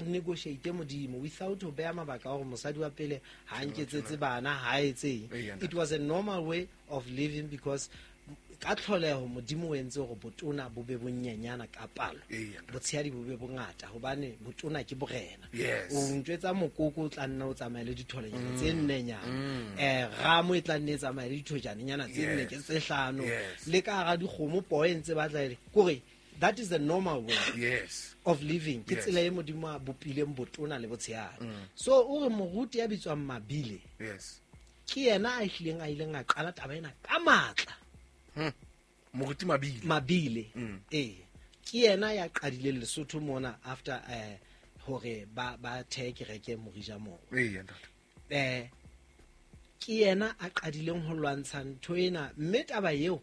sa negotiate Modimo without ho beha mabaka a hore mosadi wa pele ha nketsetse bana ha etseng. It was a normal way of living because ka tlholeho Modimo o entse hore botona bo be bonyenyana ka palo, botshehadi bo be bongata, hobane botona ke borena. O ntjwetsa mokoko o tla nna o tsamaye le ditholenyana tse nnenyana, ramo e tla nne e tsamaye le dithojanenyana tse nne ke tse hlano, le ka hara dikgomo poo e ntse batla ele kore that is the normal way of living. Ke tsela e Modimo a bopileng botona le botshehadi. So o re moruti ya bitswang Mabile, ke yena a hlileng a ileng a qala taba ena ka matla. Moruti Mabile. Mabile. Ke yena ya qadileng Lesotho mona after hore ba thehe kereke Morija moo. Ke yena a qadileng ho lwantsha ntho ena, mme taba eo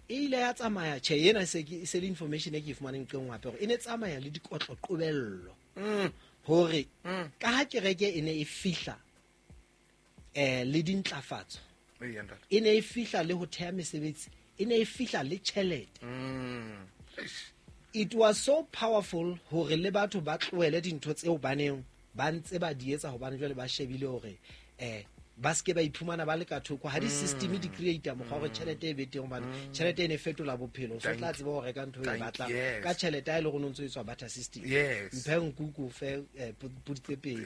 e ile ya tsamaya. Tjhe, ena se ke se le information e ke e fumaneng nqeng hape hore e ne tsamaya le dikotlo qobello. Hore ka ha kereke e ne e fihla le dintlafatso, e ne e fihla le ho theha mesebetsi, e ne e fihla le tjhelete. It was so powerful hore le batho ba tlohele dintho tseo ba neng ba ntse ba di etsa, hobane jwale ba shebile hore ba seke ba iphumana ba le ka thoko ha di-system di create mokgwa hore tjhelete e be teng, hobane tjhelete e ne fetola bophelo. So tla tseba ho reka ntho e batlang ka tjhelete ha e le gore o ntso e tswa barter system. Mphe nku ko fe podi tse pedi,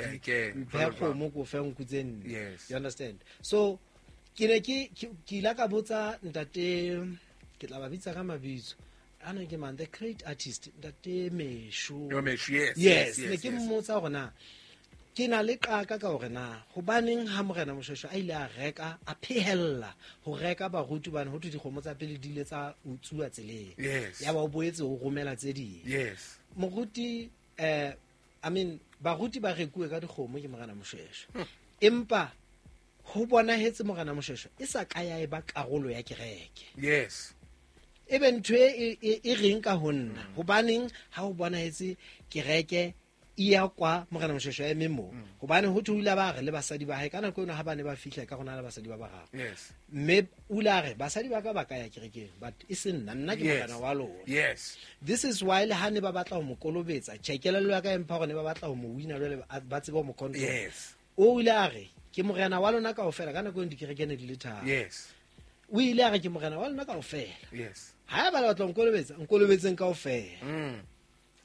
mphe kgomo ko fe nku tse nne. You understand? So ke ne ke ile ka botsa ntate, ke tla ba bitsa ka mabitso ana ke man, the great artist ntate Mesho. Yes, ne ke mmotsa hore na ke na le qaka ka hore na hobaneng ha morena Moshoeshoe a ile a reka, a phehella ho reka baruti bana, ho thwe dikgomo tsa pele di ile tsa utsuwa tseleng. Ya ba o boetse o romela tse ding. Moruti, I mean, baruti ba rekuwe ka dikgomo ke morena Moshoeshoe. Empa ho bonahetse morena Moshoeshoe e sa ka ya eba karolo ya kereke. Ebe ntho e reng ka ho nna, hobaneng ha ho bonahetse kereke e ya kwa morena Moshoeshoe a eme moo? Hobane ho thwe o ile ba re le basadi ba hae ka nako eno ha ba ne ba fihla ka rona le basadi ba bararo. Mme o ile a re basadi ba ka ba ka ya kerekeng, but e se nna, nna ke morena wa lona. This is why le ha ne ba batla ho mo kolobetsa, tjhe, kelello ya ka e mpha hore ne ba batla ho mo wina jwale ba tsebe ho mo control. O ile a re ke morena wa lona kaofela, ka nako eno dikereke ne di le tharo. O ile a re ke morena wa lona kaofela. Ha ba batla ho nkolobetsa, nkolobetseng kaofela.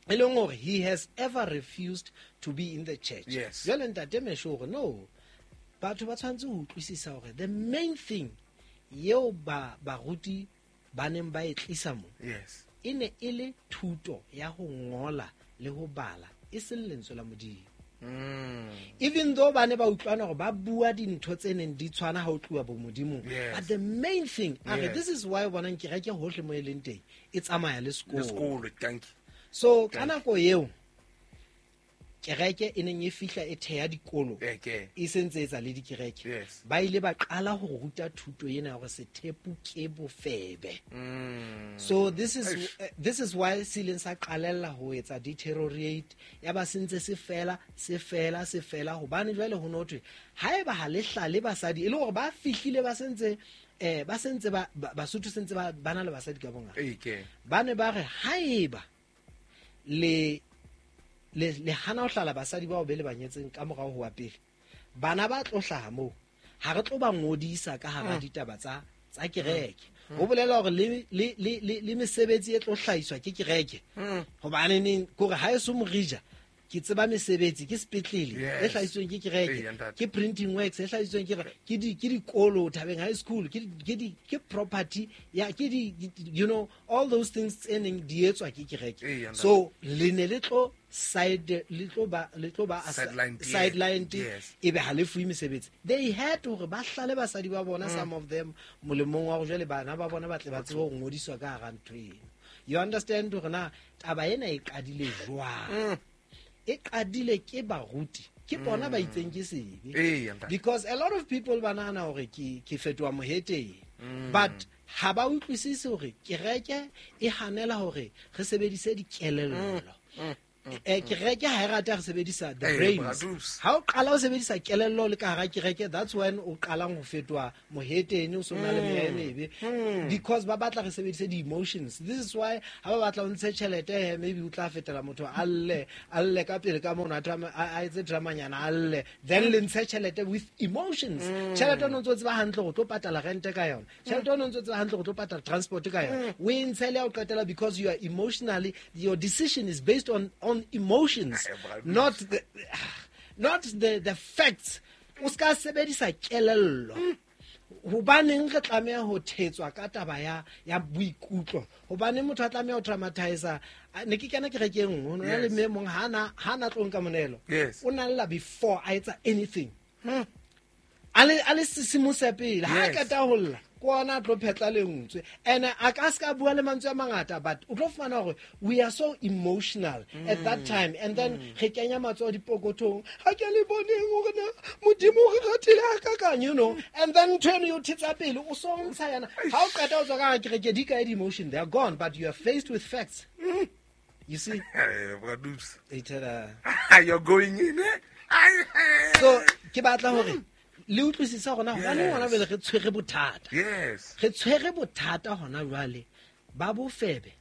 E leng hore he has ever refused to be in the church. Jwale ntate Mesho hore no, batho ba tshwanetse ho utlwisisa hore the main thing eo ba baruti ba neng ba e tlisa mo, e ne e le thuto ya ho ngola le ho bala, e seng lentswe la Modimo. Even though ba ne ba utlwana hore ba bua dintho tse neng di tshwana ha ho tluwa bo Modimong, but the main thing, a re, this is why o bonang kereke hohle mo e leng teng e tsamaya le sekolo. Le sekolo, thank you. So ka nako eo kereke e neng e fihla e theha dikolo, e sentse e etsa le dikereke, ba ile ba qala ho ruta thuto ena ya hore sethepu ke bofebe. So this is why se ileng sa qalella ho etsa deteriorate, ya ba sentse se fela, se fela, se fela, hobane jwale ho no thwe haeba ha le hlale basadi, e le hore ba fihlile ba sentse, ba sentse ba, ba, Basotho sentse ba, ba na le basadi ka bongata. Ba ne ba re haeba le le hana ho hlala basadi bao be le ba nyetseng ka morao ho wa pele, bana ba tlo hlaha moo, ha re tlo ba ngodisa ka hara ditaba tsa kereke. Ho bolela hore le mesebetsi e tlo hlahiswa ke kereke. Hobane neng kore ha e so morija, ke tseba mesebetsi, ke sepetlele e hlahisitsweng ke kereke, ke printing works e hlahisitsweng ke kereke, ke dikolo Thabeng High School, ke property ya, ke di, you know, all those things tse neng di etswa ke kereke. So le ne le tlo side, le tlo ba, le tlo ba Sideline tee. sideline tee, ebe ha le fuwe mesebetsi. They had hore ba hlale basadi ba bona, some of them molemong wa hore jwale bana ba bona ba tle ba tsebe ho ngodiswa ka hara ntho eno. You understand hore na taba ena e qadile jwang? E qadile ke baruti, ke bona ba itseng ke sebe. Because a lot of people ba nahana hore ke fetoha moheteng. But ha ba utlwisise hore kereke e hanela hore re sebedise dikelello. Kereke ha e rate ha re sebedisa the brains. Ha o qala o sebedisa kelello le ka hara kereke, that's when o qalang ho fetoha mohetene, o so na le meya e mebe, because ba batla re sebedise di-emotions. This is why ha ba batla o ntshe tjhelete, maybe o tla fetela motho a lle ka pele ka mono, a etse dramanyana a lle, then le ntshe tjhelete with emotions. Tjhelete o no ntso tseba hantle go tlo patala rente ka yona, tjhelete o no ntso tseba hantle go tlo patala transport ka yona, o e ntshe le ya o qetela, because you are emotionally, your decision is based on emotions, not the facts. O ska sebedisa kelello. Hobaneng re tlameha ho thetswa ka taba ya boikutlo? Hobaneng motho a tlameha ho traumatize? Ne ke kena kereke e nngwe, ho na le mme mong ha na tlo nka monelo. O na lla before a etsa anything. A le sesimose pele, ha qeta ho lla, ke ona a tlo phetla lentswe. And a ka ska bua le mantswe a mangata, but o tlo fumana hore we are so emotional at that time, and then re kenya matsoho dipokothong, ha ke le boneng hore na Modimo o re ratile hakakang, you know, and then ntho eno e o thetsa pele, o so ntsha yana. Ha o qeta ho tswa ka hara kereke, di kae di-emotion? They are gone, but you are faced with facts. You see? You're going in, eh? So ke batla hore le utlwisisa hore na hobane hona jwale re tshwere bothata. Yes. Re tshwere bothata hona jwale ba bofebe.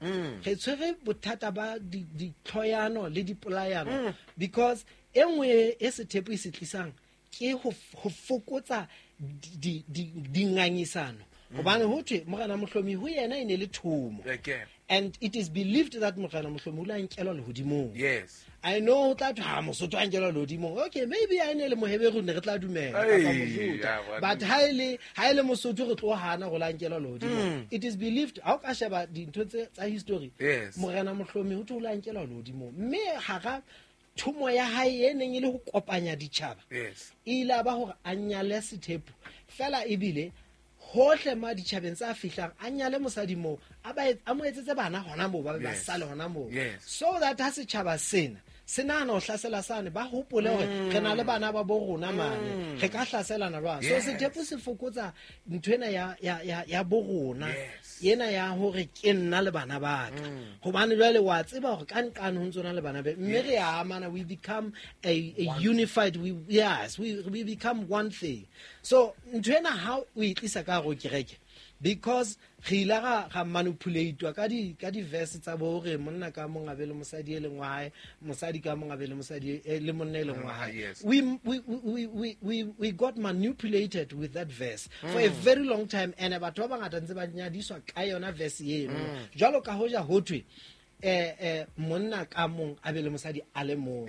Re tshwere bothata ba ditlhoyano le dipolayano, because e nngwe e sethepu e se tlisang ke ho fokotsa dingangisano. Hobane ho thwe Morena Mohlomi ho yena e ne le thomo. And it is believed that Morena Mohlomi o la nkelwa lehodimong. Yes. I know that ha Mosotho a nkelwa lehodimong. Okay, maybe a ne le Moheberu ne re tla dumela kapa Mojuda. But ha ile Mosotho re tlo hana go la nkelwa lehodimong. It is believed ha o ka sheba dintho tsa history. Yes. Morena Mohlomi ho tlo la nkelwa lehodimong. Mme hara thomo ya hae e neng e le ho kopanya ditjhaba. Yes. E ile ba hore a nyale sethepu. Fela ebile hohle ma ditjhabeng tsa fihlang a nyale mosadi moo, a mo etsetse bana hona moo, ba ba sale hona moo, so that ha setjhaba sena se nahana ho hlasela sane, ba hopole hore re na le bana ba bo rona mane, re ka hlaselana jwang. So sethepu se fokotsa ntho ena ya bo rona, ena ya hore ke nna le bana ba ka, hobane jwale wa tseba hore ka nqane ho ntsona le bana be, mme re a amana, we become a unified, we become one thing. So ntho ena ha o e tlisa ka hare ho kereke, because re ile ga manipulate ka di verse tsa bo hore monna ka mong a be le mosadi e leng wa hae, mosadi ka mong a be le mosadi le monna e leng wa hae. We got manipulated with that verse for a very long time, and batho ba bangata ntse ba nyadiswa ka yona verse eno. Jwalo ka hoja ho thwe monna ka mong a be le mosadi a le mong,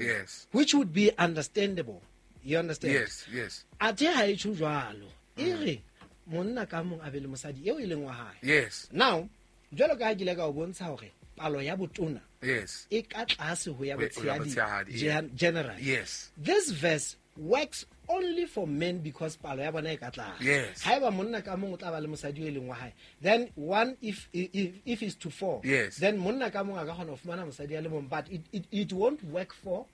which would be understandable. You understand? Yes, yes. Athe ha e tjho jwalo, e re monna ka mong a be le mosadi eo e leng wa hae. Yes. Now, jwalo ka ha ke ile ka o bontsha hore palo ya botona, yes, e ka tlase ho ya botshehadi generally. Yes. This verse works only for men because palo ya bona e ka tlase. Yes. Haeba monna ka mong o tla ba le mosadi e leng wa hae, then one if is to four, yes, then monna ka mong a ka kgona ho fumana mosadi a le mong, but it won't work for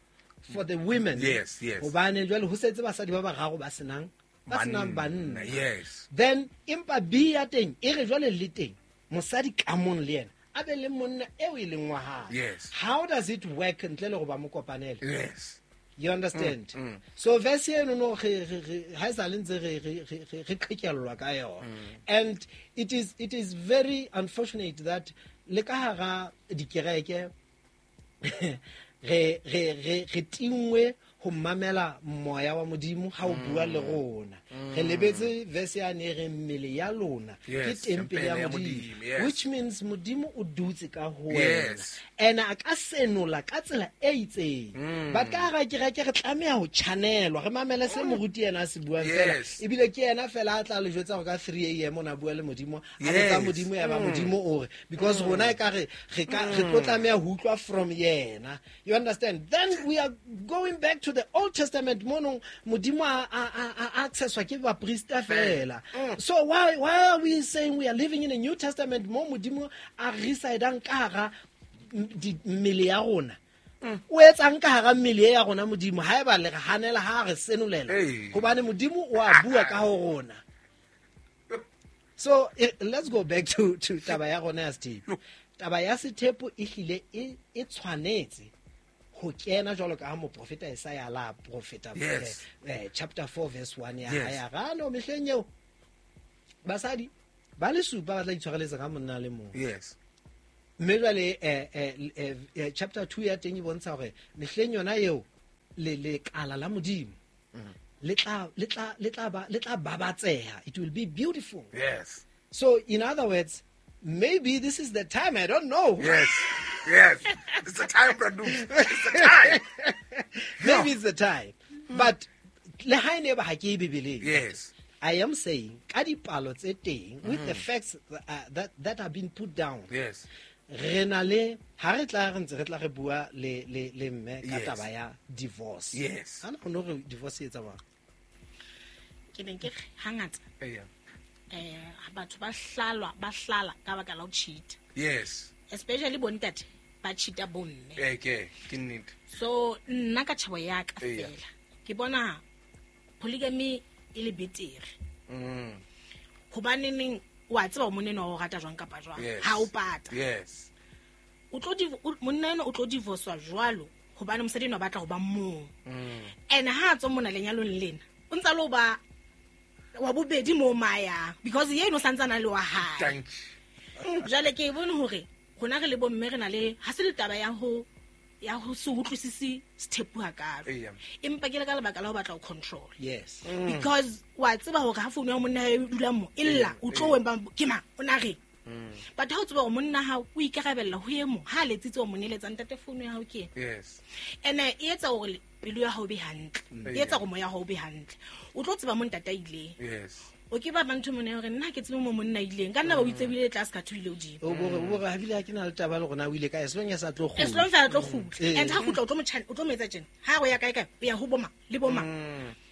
the women. Yes, yes. Hobane jwale ho setse basadi ba bararo ba senang banna. Yes. Then empa B ya teng e re jwale le teng mosadi ka mong le yena a be le monna eo e leng wa hae. Yes. How does it work ntle le go ba mo kopanele? Yes. You understand? So verse eno no re ha sa le ntse re qhekellwa ka yona. And it is very unfortunate that le ka hara dikereke re tingwe ho mamela moya wa Modimo ha o bua le rona. Re lebetse verse ya ne re mmele ya lona ke tempele ya Modimo, which means Modimo o dutse ka ho wena, and a ka senola ka tsela e itseng. But ka hara kereke re tlameha ho channelwa, re mamele se moruti yena a se buang fela, ebile ke yena fela a tla le jwetsa hore ka 3 a.m. o na bua le Modimo, a botsa Modimo ya ba Modimo o re, because rona e ka re tlo tlameha ho utlwa from yena. You understand? Then we are going back to the Old Testament, mono Modimo a accesswa ke baprista fela. So why are we saying we are living in a New Testament mo Modimo a residang ka hara mmele ya rona? O etsang ka hara mmele ya rona Modimo haeba le re hanela ha re senolela, hobane Modimo o a bua ka ho rona. So let's go back to taba ya rona ya sethepu. Taba ya sethepu e hlile e tshwanetse ho kena jwalo ka ha moprofeta Isaiah la profeta chapter 4 verse 1 ya ya rano mehleng eo basadi ba le supa ba tla itshwareletsa ka monna le mong. Yes. Mme jwale chapter 2 ya teng e bontsha hore mehleng yona eo le lekala la Modimo le tla babatseha. It will be beautiful. Yes. So in other words, maybe this is the time, I don't know. Yes. Yes. It's the time, Brandon. It's the time. Maybe it's the time. But le ha ene ba ha ke Bibeleng. Yes. I am saying ka dipalo tse teng with the facts that have been put down. Yes. Re na le ha re tla re ntse re tla re bua le mme ka taba ya divorce. Yes. Ana go no re divorce e etsa bang? Ke neng ke hangata. Yeah. Batho ba hlalwa ba hlala ka baka la ho cheat. Yes. Especially bontate ba cheata bomme. Okay, ke nnete. So nna ka tjhebo ya ka fela ke bona polygamy e le betere. Hobane neng wa tseba monna o rata jwang kapa jwang ha o pata. Yes. O tlo monna ena o tlo divorcewa jwalo hobane mosadi ena o batla ho ba mong. And ha tswa mona lenyalong lena o ntsa lo ba wa bobedi mo maya because yena o santsana le wa hae. Thank you. Jwale ke bone hore rona re le bomme re na le ha se le taba ya ho se utlwisisi sethepu hakalo. Empa ke le ka lebaka la ho batla ho control. Yes. Because wa tseba hore ha phone ya monna e dula mo e lla o tlo wemba ke mang o na re. But ha o tseba hore monna ha o ikarabella ho e mong ha letsitse o moneletsa ntate phone ya hao ke. Yes. Ene e etsa hore pelo ya hao be hantle. E etsa hore moya hao be hantle. O tlo tseba mo ntate a ileng. Yes. O ke ba bantho mona hore nna ke tsebe mo monna ileng ka nna ba o itsebile tlase ka thuile hodimo. O bore ha bile ha ke na le taba le rona o ile ka as long as a tlo kgutla. As long as a tlo kgutla. And ha kgutla o tlo motjhana o tlo metsa tjena. Ha go ya kae kae o ya ho boma le boma.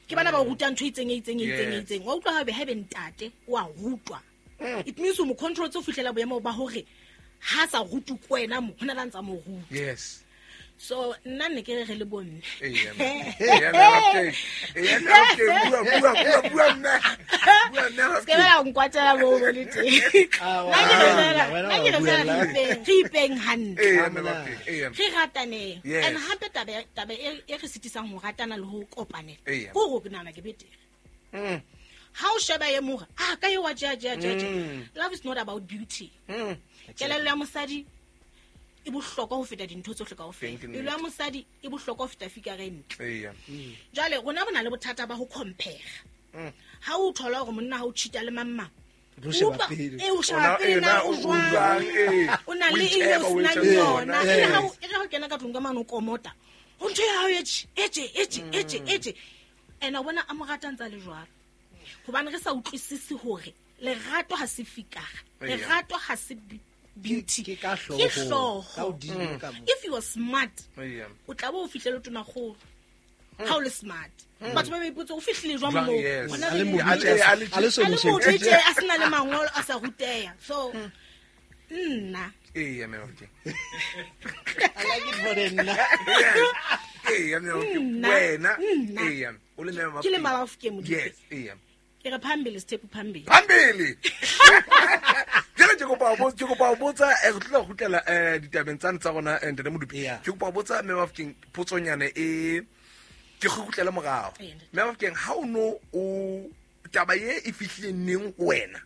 Ke bana ba o ruta ntho itseng itseng. Wa utlwa ha be ha be ntate o a rutwa. It means o mo control tse fihlela boemo ba hore ha sa rutu kwena mo hona la ntsa mo ruta. Yes. So nna ne ke re le bomme. Bua nna. Se ba nkwatela bo le teng. Nna ke re re ipeng hantle. Re ratane. And hape taba e re sitisang ho ratana le ho kopanela. Ko go nana ke betere. Ha o sheba ye mora, ah ka ye wa ja. Love is not about beauty. Kelello ya mosadi e bohlokwa ho feta dintho tsohle kaofela. Pelo ya mosadi e bohlokwa ho feta fikare ntle. Jwale rona bona le bothata ba ho compare. Ha o thola hore monna ha o cheata le mamma. O sheba pele na o jwang. O na le eng o sena yona. E ha o kena ka tlung ka mane o komota. Ho ntho ya hao etse. Ena bona a mo rata ntsa le jwalo. Hobane re sa utlwisisi hore lerato ha se fikara. Lerato ha se beauty. Ke ka hlooho. If you are smart, o tla bo o fihlele tona kgolo. Ha o le smart. Batho ba ipotsa o fihlile jwang mo? A le moditse a sena le mangolo a sa ruteya. So nna. Eya me okay. I like it for the nna. Eya me okay. Wena. Eya. O le mama. Ke le mama ke moditse. Yes, eya. Ke re phambili step phambili. Phambili. Jale ke kopa ho botsa re tlo kgutlela ditabeng tsane tsa rona ntate Modupi. Ke kopa ho botsa mme Bafokeng potsonyane e ke kgutlela morao. Mme Bafokeng ha o no o taba ye e fihlile neng ho wena?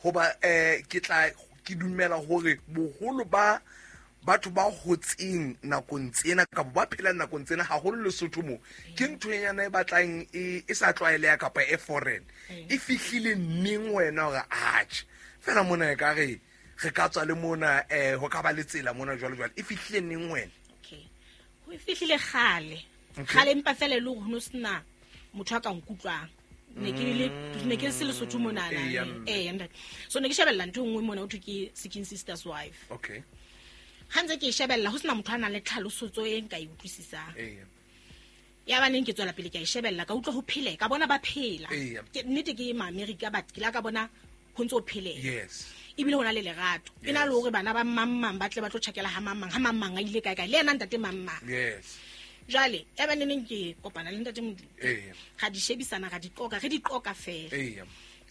Hoba ke tla ke dumela hore boholo ba batho ba hotseng nakong tsena kapa ba phelang nakong tsena haholo Lesotho mo ke ntho enyana e batlang e sa tlwaeleha kapa e foreign e fihlile neng wena hore atjhe fela mona e ka re re ka tswa le mona ho ka ba le tsela mona jwalo jwalo e fihlile neng wena? Okay, ho e fihlile kgale kgale empa fela e le hore ho sena motho a ka nkutlwang. Ne ke se Lesotho mona na so ne ke shebella ntho nngwe mona ho thwe ke Seeking Sister's Wife. Okay. Ha ntse ke shebella ho sena motho a nang le tlhaloso e nka e utlwisisang. Ya ba neng ke tswela pele ke a shebella ka utlwa ho phele ka bona ba phela. Ke nnete ke ma America but ke la ka bona ho ntse ho phele. Yes. Ebile hona le lerato. E na le hore bana ba mammang ba tle ba tlo tjhakela ha mammang a ile kae kae le yena ntate mammang. Yes. Jwale ya ba neng ke kopana le ntate Modupi. Ga di shebisana ga di qoka re di qoka fela.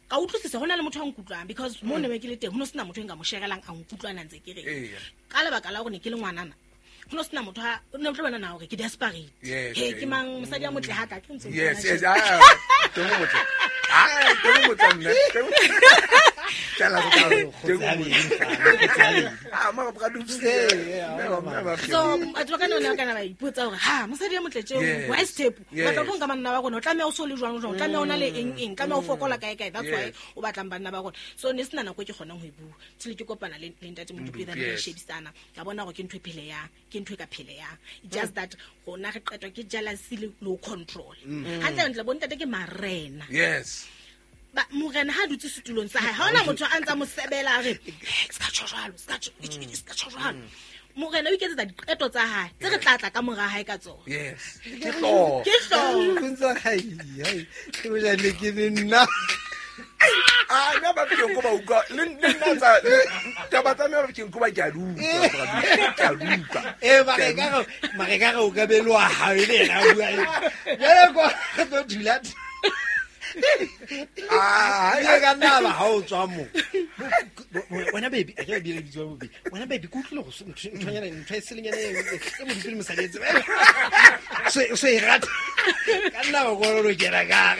Ka utlwisisa hona le motho a nkutlwang because mo ne ke le teng ho no sena motho e nka mo sherelang a nkutlwana ntse ke re. Ka lebaka la hore ne ke le ngwanana Go no sena motho ha o ne tlo bona na hore ke desperate. He ke mang mosadi a motle ha ka ke ntse. Yes, yes. Ah, teng motle. Ah, teng motle nna. Tla teng motle. Ah, mara bra dupse. So, batho ba ka nna kana ba ipotsa hore ha mosadi a motle tjeo, why step? Ba tla go nka manna ba rona, o tlameha o so le jwang jwang, o tlameha o na le eng eng, tlameha o fokola kae kae. That's why o batlang banna ba rona. So ne sena nako e ke kgonang ho e bua. Till ke kopana le ntate Modupi then re shebisana. Ka bona hore ke ntho e phele yang, ke ntho e ka phele yang. Just that rona re qetwa ke jealousy le low control. Hantle ntle bo ntate ke marena. Yes. Ba morena ha dutse setulong sa hae, ha ona motho a ntsa mo sebela a re ska tjho jwalo, ska tjho jwalo. Morena o iketsetsa diqeto tsa hae tse re tla tla ka mora hae ka tsona. Yes. Ke hlo. Ke hlo. Ntsa hai hai. Ke boja le ke nna. Ah, nna ba ke go ba utlwa le nna tsa taba tsa me ba ke go ba ke a utlwa ke a utlwa. Mare ka re o ka belwa ha le yena bua. Jwale ko tlo dula. Ah, ye ka nna ba ha o tswa mo. Wena baby, a ke bile bitswa baby. Wena baby ke utlwile go nthonyana ntho e selenyana e mo dipele mosadi etse. So e rata. Ka nna ba go lo kena ka.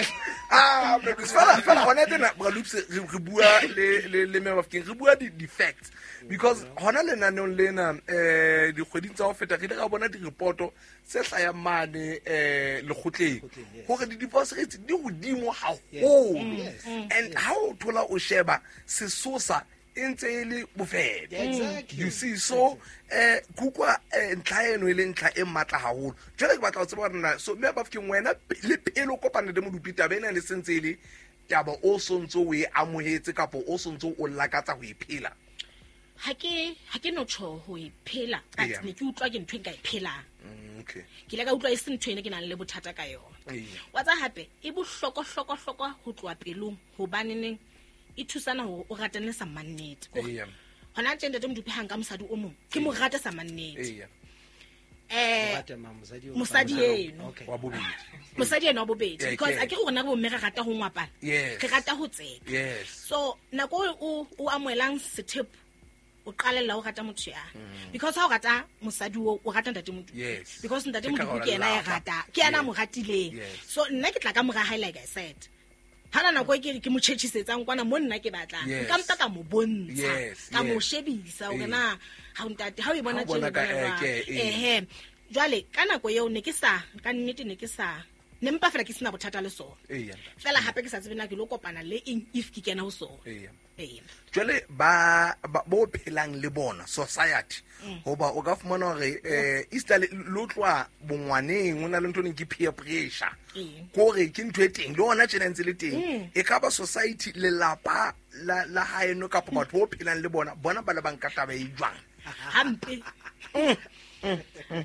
Ah, because fela hona tena bra Loops re bua le me Bafokeng re bua di facts because hona lenaneong lena dikgweding tsa ho feta re ile ra bona di-reporto tse hlayang mane lekgotleng hore di-divorce rates di hodimo haholo and ha o thola o sheba sesosa e ntse e le bofebe. You see, so kukwa ntlha eno e le ntlha e matla haholo. Jwale ke batla ho tseba hore na so mme Bafokeng wena le pele o kopana le Modupi taba ena le sentse e le taba o sontso o e amohetse kapa o sontso o lakatsa ho e phela. Ha ke no tjho ho e phela, but ne ke utlwa ke ntho e nka e phelang. Okay. Ke ile ka utlwa e se ntho ene ke nang le bothata ka yona. Wa tsa hape e bohloko hloko hloko ho tloha pelong hobaneneng e thusana hore o ratane sa mannete. Hona tje ntate Modupi ha nka mosadi o mong ke mo rata sa mannete. Mosadi eno wa bobedi. Mosadi eno wa bobedi because a ke rona bo mme re rata ho ngwapana. Re rata ho tseka. So nako o amoelang sethepo o qalella o rata motho ya. Because ha o rata mosadi o rata ntate Modupi. Because ntate Modupi ke yena ya rata, ke yena mo ratileng. So nna ke tla ka mora hae like I said. Hana nako e ke mo tjhetjhisetsang kwana mo nna ke batlang. Nka mpa ka mo bontsha, ka mo shebisa hore na ha ntate ha o e bona tjena. Ehe. Jwale ka nako eo ne ke sa ka nnete ne ke sa ne mpa fela ke sena bothata le sona. Fela hape ke sa tsebe na ke lo kopana le eng if ke kena ho sona. Jwale ba bo phelang le bona society hoba o ka fumana hore Easter lo tloa bongwaneng o na le ntho neng ke peer pressure kore ke ntho e teng le ona tjena ntse le teng e ka ba society lelapa la haeno kapa batho bo phelang le bona bona ba le bang ka taba e jwang hampe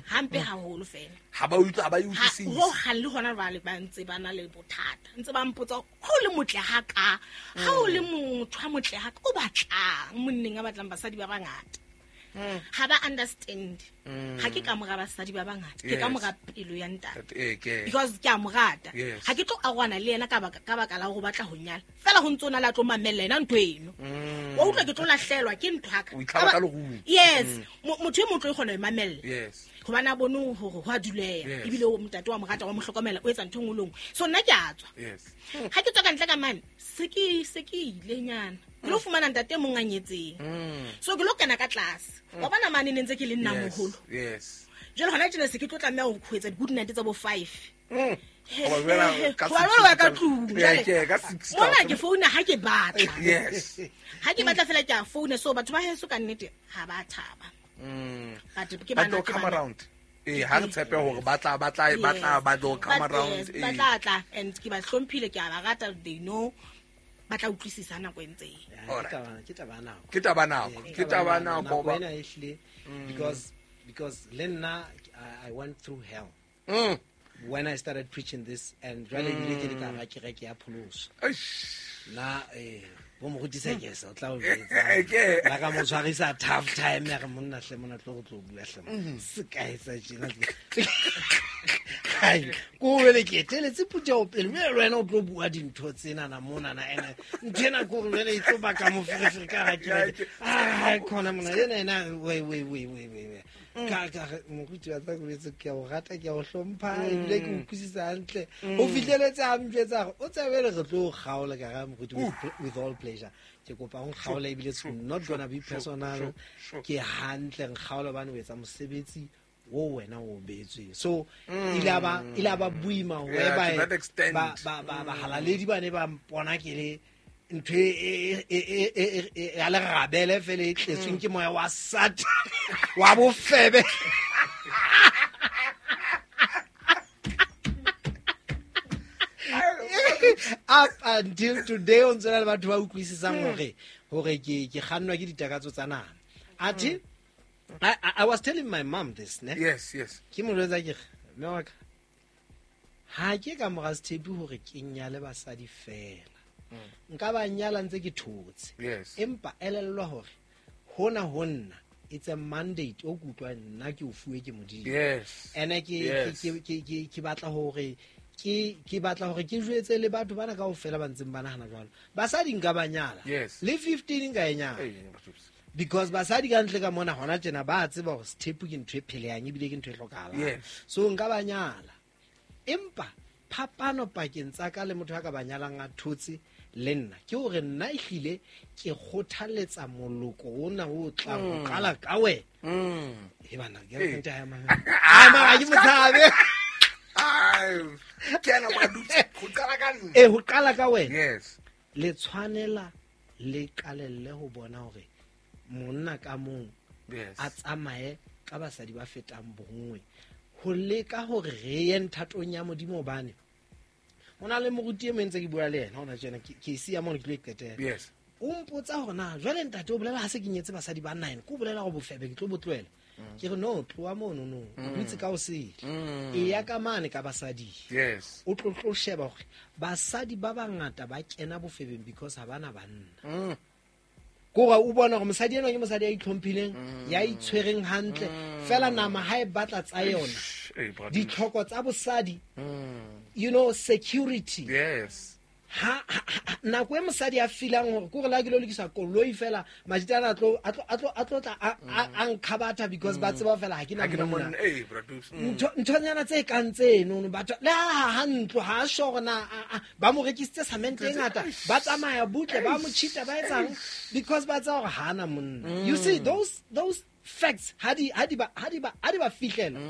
hampe haholo fela ha ba utlwa ba utlwisise ho halle hona ba le ba ntse ba na le bothata ntse ba mpotsa ho le motle ha ka ha o le motho a motle ha ka o batlang monneng a batlang basadi ba bangata ha ba understand ha ke ka mora basadi ba bangata ke ka mora pelo ya ntate because ke a mo rata ha ke tlo arwana le yena ka baka la go batla ho nyala fela ho ntse ona la tlo mamella yena ntho eno wa utlwa ke tlo lahlelwa ke ntho aka yes motho e motlo e kgona ho mamella hobane a bone hore ho a duleha ebile o ntate wa mo rata wa mo hlokomela o etsa ntho e nngwe le nngwe so nna ke a tswa ha ke tswa ka ntle ka mane se ke ile nyana ke lo fumana ntate mong a nyetseng so ke lo kena ka tlase wa bona mane ne ntse ke le nna moholo jwale hona tjena se ke tlo tlameha ho etsa di-good night tsa bo 5 ka tlung mona ke founa ha ke batla ha ke batla fela ke a founa so batho ba heso ka nnete ha ba thaba but ke bana come around ha re tshepe hore ba tla ba tlo come around ba tla tla and ke ba hlomphile ke a ba rata they know ba tla utlwisisa nako e ntse ke taba nako wena ehle because le nna I went through hell when I started preaching this and jwale ile ke le ka ra kereke ya pholoso na bo mo rutisa ke sa tla o jwetsa ba ka mo tshwarisa tough time ya re monna hle mona tlo go tlo bua hle se ka etsa tjena hai ko wele ke teletse putja o pele mme le wena o tlo bua dintho tsena na mona na ene ntho ena ko re e tlo baka moferefere ka ra kereke ah khona mona ena we Ka re moruti wa tsa boletse ke a o rata, ke a o hlompha, ebile ke utlwisisa hantle. O fihleletse a mpjwetsa hore o tsebe re tlo o kgaola, ka ra moruti with all pleasure. Ke kopa o nkgaole ebile it's not gonna be personal. Ke hantle nkgaole hobane o etsa mosebetsi o wena o beetsweng. So ile a ba boima ho ba bahalaledi ba ne ba mpona ke le ntho e ya lerabele fela e tletsweng ke moya wa Satan wa bofebe. Up until today o ntse le batho ba utlwisisang hore ke kgannwa ke ditakatso tsa nama. Athe I was telling my mom this, ne? Yes, yes. Ke mo jwetsa ke re, mme wa ka, ha ke ka mora sethepu hore ke nyale basadi fela. Nka ba nyala ntse ke thotse. Yes. Empa elellwa hore hona ho nna it's a mandate o kutlwa nna ke o fuwe ke Modimo. Yes. Ene ke batla hore ke batla hore ke jwetse le batho bana kaofela ba ntseng ba nahana jwalo. Basadi nka ba nyala. Yes. Le 15 nka e nyala. Because basadi ka ntle ka mona hona tjena ba tseba hore sethepu ke ntho e phelehang ebile ke ntho e hlokahalang. Yes. So nka ba nyala. Empa phapano pakeng tsa ka le motho a ka ba nyalang a thotse le nna ke hore nna ehlile ke kgothaletsa moloko ona o tlang ho qala ka wena. E bana ke re nta ya mang. Ai mara ke motshabe. Ai ke ana ba dutse ho qala ka nna. Ho qala ka wena. Yes. Le tshwanela le qalelle ho bona hore monna ka mong a tsamaye ka basadi ba fetang bonngwe ho leka hore re ye nthatong ya Modimo hobane ho na le moruti e mong ntse ke bua le yena hona tjena ke siya mono ke tlo e qetela. Yes. O mpotsa hore na jwale ntate o bolela ha se ke nyetse basadi ba 9 ke o bolela hore bofebe ke tlo bo tlohela. Ke re no tloha mono no o dutse ka o sele. E ya ka mane ka basadi. Yes. O tlo sheba hore basadi ba bangata ba kena bofebeng because ha bana banna. Kore o bona hore mosadi enwa ke mosadi ya itlhomphileng, ya itshwereng hantle, fela nama ha e batla tsa yona. Ditlhoko tsa bosadi, you know, security. Yes. Ha nako e mosadi a feelang hore ke hore la ke lo lokisa koloi fela majitana a tlo tla a nkhabatha because ba tseba fela ha ke na monna. Nthonyana tse kang tseno batho le ha ntlo ha sure na ba mo rekisitse cement e ngata ba tsamaya butle ba mo cheata ba etsang because ba tseba hore ha na monna. You see those facts ha di ba fihlela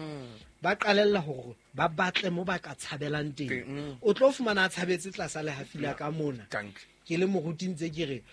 ba qalella hore ba batle mo ba ka tshabelang teng. O tlo fumana a tshabetse tlasa le hafila ka mona. Ke le moruti ntse ke re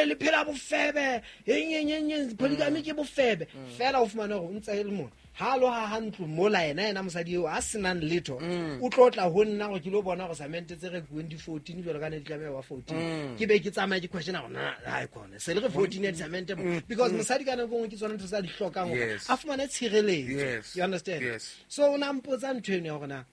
le phela bofebe eng polygamy ke bofebe fela o fumana hore o ntse le mona ha lo ha ntlo mola yena mosadi eo a senang letho o tlo tla ho nna hore ke lo bona hore cement tse re kueng di 14 jwalo ka ne di tlameha wa 14 ke be ke tsamaya ke question hore na ha e khona se le re 14 ya cement because mosadi ka nako nngwe ke tsona ntho tsa di hlokang hore a fumane tshireletso. You understand? Yes. So o na mpotsa ntho eno ya hore na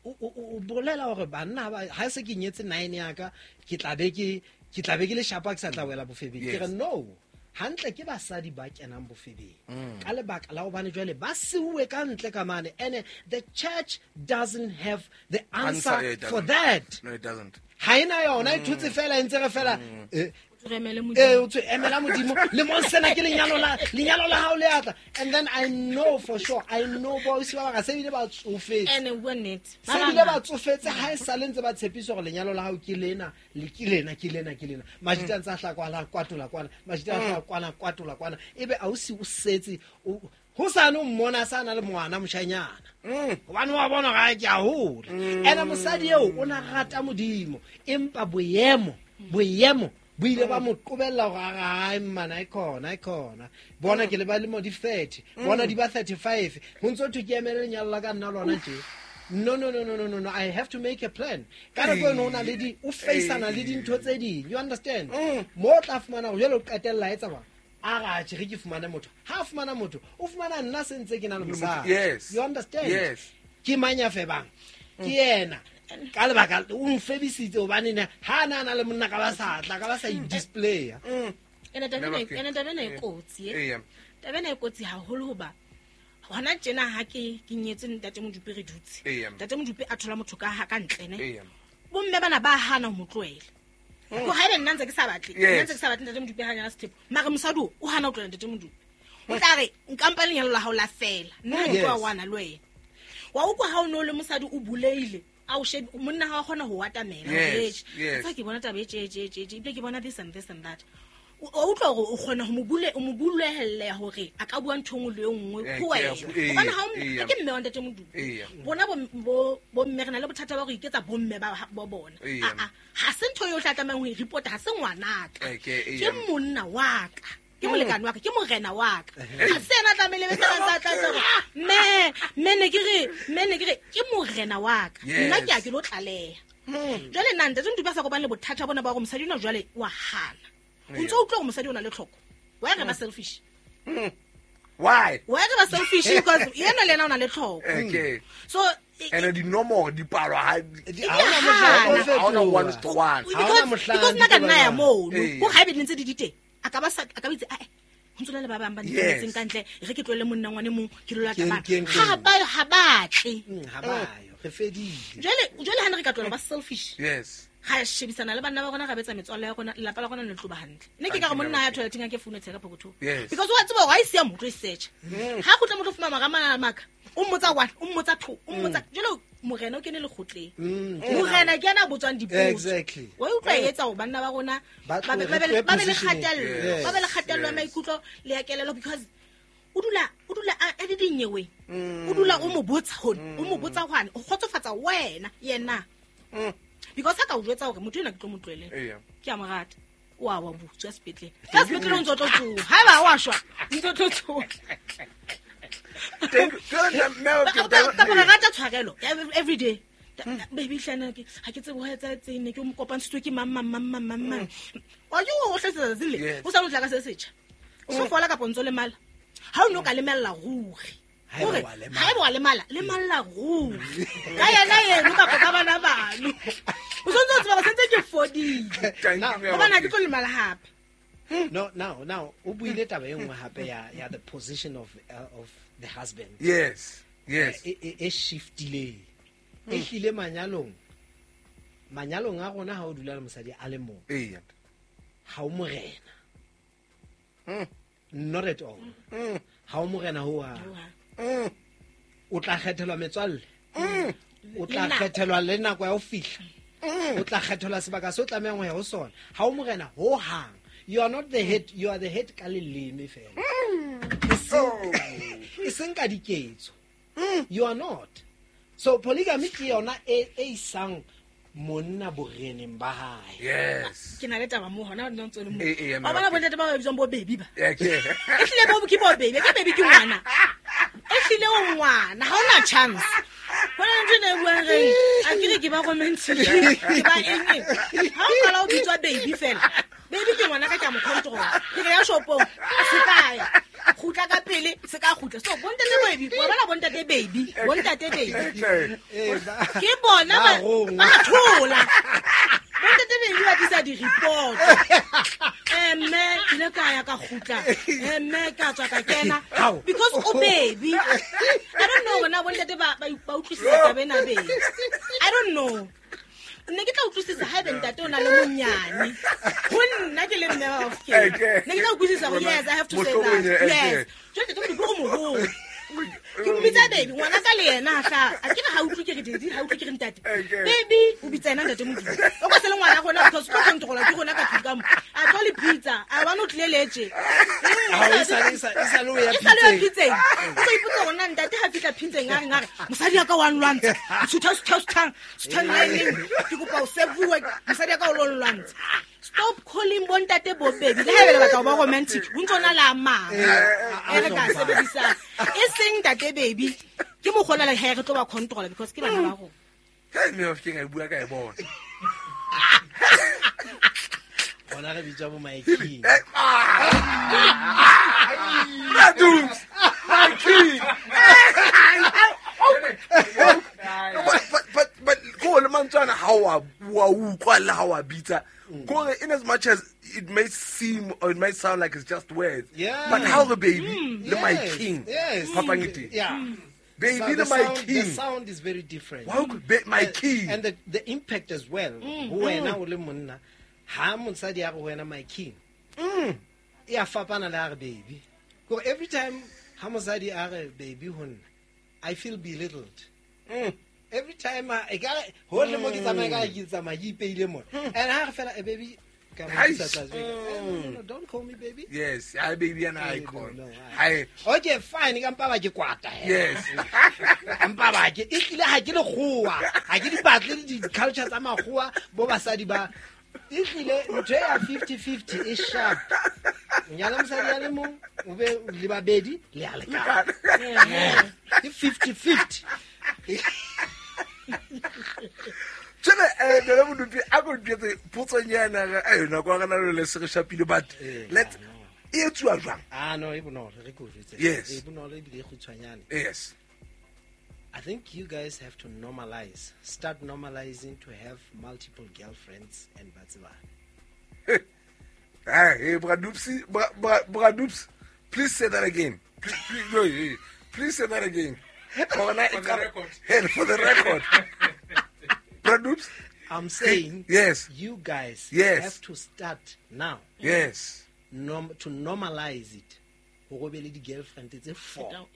o bolela hore banna ha se ke nyetse 9 ya ka ke tla be ke le shapa ke sa tla wela bofebeng. Ke re no hantle ke basadi ba kenang bofebeng ka lebaka la hobane jwale ba siuwe ka ntle ka mane and the church doesn't have the answer for that. No, it doesn't. Ha ena yona e thutse fela e ntse re fela o tswe emela Modimo le mo sena ke lenyalo la hao le atla. And then I know for sure, I know boys ba ba se bile ba tsofetse ene bua nnete se bile ba tsofetse ha e sale ntse ba tshepisa hore lenyalo la hao ke lena le ke lena ke lena ke lena majita ntse a hla kwana kwatola kwana majita a hla kwana kwatola kwana ebe a o si o setse ho sa no mmona sa na le ngwana moshanyana hobane wa bona ga ke a hola ene mosadi eo o na rata Modimo empa boemo bo ile ba mo qobella hore ai mmana e khona bona ke le ba lemo di 30 bona di ba 35 ho ntso thwe ke emele lenyalo la ka nna lona tje. No, I have to make a plan. Ka nako eno o na le di o faceana le dintho tse ding. You understand? Mo tla fumana hore jwale o qetella etsa ba a ra tje re ke fumane motho. Ha fumana motho o fumana nna se ntse ke na le mosadi. Yes. You understand? Yes. Ke mang ya febang? Ke yena. Ka lebaka o mfebisitse hobane ne ha na le monna ka ba sa tla ka ba sa i-display. Ene taba ena e kotsi e. Taba ena e kotsi haholo hoba hona tjena ha ke nyetse ntate Modupe re dutse. Ntate Modupe a thola motho ka ha ka ntle ne. Bomme bana ba hana ho mo tlohela. Ko haebe nna ntse ke sa batle, nna ntse ke sa batle ntate Modupe ha nyala sethepu. Mara mosadi o hana ho tlohela ntate Modupe. O tla re nkampa lenyalo la hao la fela. Nna ha ke tlo wana le wena. Wa utlwa ha o no le mosadi o buleile. A o shebe monna ha wa kgona ho atamela. Tsa ke bona taba e tje ebile ke bona this and this and that. O utlwa hore o kgona ho mo bule o mo bulehelle hore a ka bua ntho nngwe le nngwe ho wena. Hobane ha o ke mme wa ntate Modupi. Bona bo mme re na le bothata ba go iketsa bomme ba bo bona. A ha se ntho yo tlatlamang ho e report ha se ngwanaka. Ke monna wa ka. Ke molekane wa ka, ke morena wa ka. Ha se ena tlamehile be tsa tla tla mme ne ke re ke morena wa ka. Nna ke a ke lo tlaleha. Jwale nna ntate Modupi a sa kopane le bothata bona ba hore mosadi ona jwale wa hana. O ntse o utlwa hore mosadi o na le tlhoko. Why re ba selfish? Why? Why re ba selfish? Because yena le yena o na le tlhoko. Okay. So and the normal dipalo ha ona 1 to 1. Because nna ka nna ya mono. Ho ha be ntse di diteng. A ka ba sa a ka bitse a ho ntse le ba bang ba ntse ka ntle re ke tlohele monna ngwane mong ke lo lata bana. Ha ba tle. Ha ba yo. Re fedile. Jwale ha ne re ka tlohela ba selfish. Yes. Ga shebisana le banna ba rona ga betsa metswalle ya rona lelapa la rona le tlo ba hantle. Nne ke ka re monna ya toileteng a ke foune tsheka pokotho. Because wa tseba hore ha e siya motho e search. Ha go tla motho fuma mara maka. O mmotsa 1, o mmotsa 2, o mmotsa jalo morena o kene le kgotleng. Morena ke yena a botswang dipotso. Exactly. Wa utlwa e etsa hore banna ba rona ba be le kgatello, ba be le kgatello ya maikutlo le ya kelello because o dula a di dinyewe. O dula o mo botsa hone, o mo botsa hwane, o kgotsofatsa wena yena. Because ha ka o jwetsa hore motho ena ke tlo mo tlohele. Ke a mo rata. O a wa butswa sepetlele. Ka sepetlele o ntse o tlo tsoha. Haeba wa shwa, ntse o tlo tsoha. Ka re rata tshwarelo every day. Baby hlana ke ha ke tsebe ho etsa etseng ne ke mo kopantshitswe ke mang. O yo o hletsa tsatsi le. O sa lo tla ka se setjha. O so fola ka pontso le mala. Ha o no ka lemella ruri. Haeba wa lemala, lemalla ruri. Ka yena yeno kapa ka bana bano. O sontse o tseba sentse ke fodile. Hobane ha ke tlo lemala hape. No, now o buile taba e nngwe hape ya the position of the husband. Yes. Yes. E shiftile. E hlile manyalong a rona ha o dula le mosadi a le mong. Eya. Ha o morena. Not at all. Ha o morena ho ha. O tla kgethelwa metswalle. O tla kgethelwa le nako ya ho fihla. O tla kgethelwa sebaka se o tlamehang ho ya ho sona. Ha o morena ho hang. You are not the head, you are the head ka leleme fela. E seng ka diketso. You are not. So polygamy ke yona e isang monna boreneng ba hae. Yes. Ke na le taba mo hona nna ntse le mo. Ba bona bontate ba bitswang bo baby ba. Okay. E hlile bo ke bo baby, ke baby ke ngwana. E hlile o ngwana, ha ona chance. Bona ntho ne buang re, a ke re ke ba romantic, ke ba eng. Ha o qala o bitswa baby fela. Baby ke ngwana ka ke a mo control. Ke re ya shopong, se ka ya. Kgutla ka pele, se ka kgutla. So bontate baby, wa bona bontate baby, bontate baby. Ke bona ba thola. Bontate baby ba tlisa di-report. Mme ke ile ka ya ka kgutla. Mme ka tswa ka kena because o baby. I don't know bona bontate ba utlwisisa taba ena baby. I don't know. Nne ke tla utlwisisa haebe ntate o na le monyane. Ho nna ke le mme wa Bafokeng. Ne ke tla utlwisisa hore yes, I have to say that. Yes. Jwale ntate Modupi o moholo. Ke mmitsa baby, ngwana ka le yena hla. A ke re ha utlwe ke re daddy, ha utlwe ke re ntate. Baby, o bitsa yena ntate Modupi. O ka se le ngwana rona because o tlo controla ke rona ka tlung ka mo. A tlo le pizza, a bona o tlile letse. E sa le o ya pitseng. O tlo ipotsa hore na ntate ha fihla pitseng a reng a re mosadi ya ka wa nlwantsha. Sutha line. Ke kopa o sevuwe mosadi ya ka o lo nlwantsha. Stop calling bontate bo baby. Le haebe le batla ho ba romantic, ho ntso na la mang. E re ka sebedisa. E seng ntate baby. Ke mokgona le ha re tlo ba control because ke bana ba rona. Hey mme Bafokeng a bua ka e bona. Bona re bitsa bo my king. Radus, my king. But go le mantswana ha wa utlwa le ha wa bitsa. Go in as much as it may seem or it may sound like it's just words. Yeah. But how the baby, le my king. Yes. Phapang e. Yeah. Baby, so the my king. The sound is very different. Why could be my king? And the impact as well. Ho wena o le monna, ha mosadi a re wena my king. E a fapana le a re baby. Ko every time ha mosadi a re baby ho nna, I feel belittled. Every time I ka hohle mo ke tsamaya ka ke tsamaya ke ipeile mona. And ha re fela baby ka mo isa tlase. No, don't call me baby. Yes, I baby and I call. Hi. Okay, fine, ka mpa ba ke kwata. Yes. Mpa ba ke e tlile ha ke le kgowa. Ha ke di batle di culture tsa makgowa bo basadi ba e tlile ntho ya 50-50 e sharp. Nyala mosadi ya le mong o be le babedi le a lekana. Ke 50-50. Tjena nna Modupi a go ntjetse potsonyana ga yona kwa gana le se re shapile but let e etsuwa jwang? Ah no, e bonolo re go jwetse. E bonolo ebile e kgutshwanyane. Yes. I think you guys have to normalize. Start normalizing to have multiple girlfriends and batsebane. Hey, Bradupsi, Bradups, please say that again. Please, please say that again. For the record. For the record. Bradups? I'm saying, yes, you guys yes. have to start now. Yes. To normalize it. Ho be le di-girlfriend tse 4.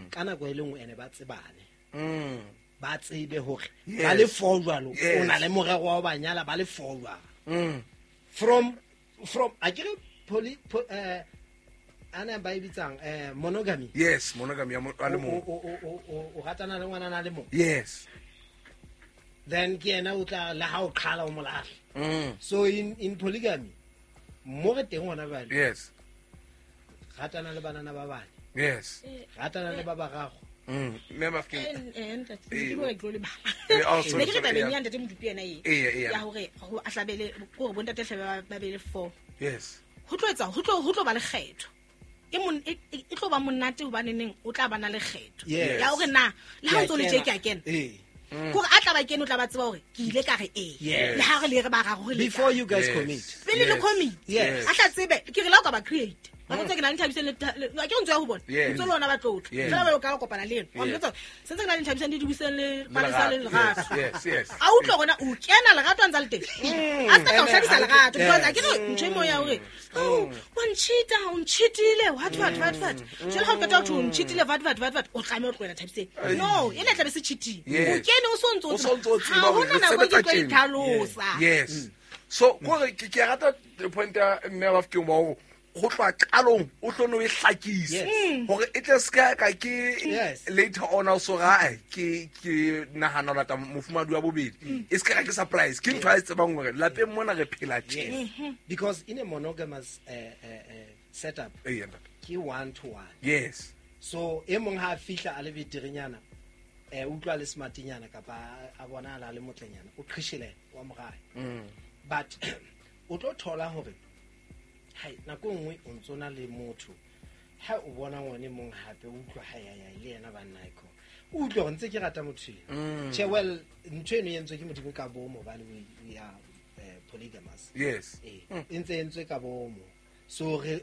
Ka nako e le nngwe ene ba tsebane. Ba tsebe hore ba le 4 jwalo, o na le morero wa ho ba nyala ba le 4 jwalo. From akere poly ana ba e bitsang monogamy. Yes, monogamy a le mong. O ratana le ngwana na le mong. Yes. Then ke yena o tla le ha o qhala o molahla. So in polygamy mo re teng hona jwale. Yes. Ratana le banana ba bane. Yes. Ratana le ba bararo. Mme Mafokeng. Ntate ke bua ke le bala. Ne ke re tabeng ya ntate Modupi yena e. Ya hore ho a hlabele hore bontate hlabe ba be le 4. Yes. Ho tlo etsa ho tlo ba le kgetho. E tlo ba monate hobane neng o tla bana le kgetho. Ya hore na le ha o ntso le tje ke a kena. Kore a tla ba kene o tla ba tseba hore ke ile ka re e. Le ha re le re ba raro le. Before you guys commit. Pele le commit. Yes. A tla tsebe ke re la o ka ba create. Ba ntse ke na le Nthabiseng le ke ntse ya ho bona. Ntse lona ba tlotla. Fela ba ka kopana le ena. Wa ntse se ntse ke na le Nthabiseng le Dibuseng le Palesa le Lerato. Yes, yes. A utlwa gona o kena Lerato a ntse le teng. A se ka o hladisa Lerato because a ke re ntho e mo ya hore oh wa nchita o nchitile what. Jwale ha o qeta ho nchitile what o tlameha o tlohela Thabiseng. No, ena tla be se cheating. O kene o sontso o tseba hore re sebetsa tjena. Yes. So gore ke rata point ya mme Mafokeng ba hore go tloha qalong o tlo no e hlakisa hore e tle ska ka ke later on also ga ke nahana lata mofumadi wa bobedi e ska ka ke surprise ke ntho a e tsebang hore lapeng mona re phela tje. Because in a monogamous setup ke 1 to 1. Yes. So e mong ha fihla a le beterenyana utlwa le smartinyana kapa a bona a le motlenyana o qhishele wa morae. But o tlo thola hore hai nako nngwe o ntso na le motho ha o bona ngwane mong hape o utlwa ha ya le yena banna iko o utlwa go ntse ke rata motho eno. Che well ntho eno e entswe ke Modimo ka bomo hobane we are polygamous. Yes. E ntse entswe ka bomo. So re